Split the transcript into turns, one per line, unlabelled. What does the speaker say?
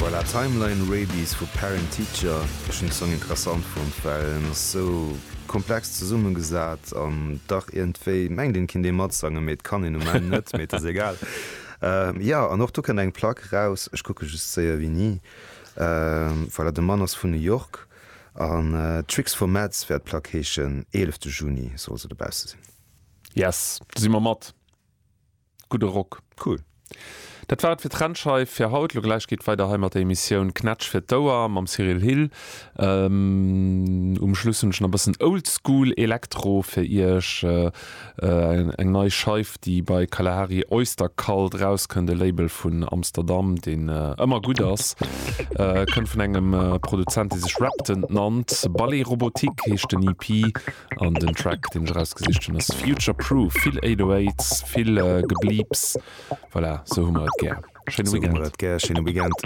Voilà, Timeline Rabies vu Parent Teacher. Ech hunn de Song interessant fonnt, well en ass sou komplex zesummegesat an dach iergendwéi mengt een, et kinnt ee matsangen, mee et kann een um Enn net, mee et ass egal. Jo, an och do kënnt eng Plack raus, ech kucke just séier wéini. Voilà, de Mann ass vun New York an Tricks for Meds wäert d'Plack heeschen, 11 Juni soll se dobausse sinn.
Yes, do si mer mat. Gudde Rock.
Cool.
Dat war et fir d'Trennscheif fir haut. Lo gläich geet weider hei mat der Emissioun Knätsch fir d'Ouer mam Cyril Hill. Um Schluss hunn ech nach e bëssen Oldschool Elektro fir iech. Eng nei Scheif, déi bei Kalahari Oyster Cult erauskënnt, e Label vun Amsterdam, deen ëmmer gutt ass. Kënnt vun engem Produzent, dee sech Reptant nannt. Ballet Robotique heescht den EP. An den Track deen ech erausgesicht hunn ass Future Proof. Vill 808s, vill Gebleeps. Voilà, sou hu mer et gär.
Schéine Weekend. Sou hu mer et gär. Schéine Weekend.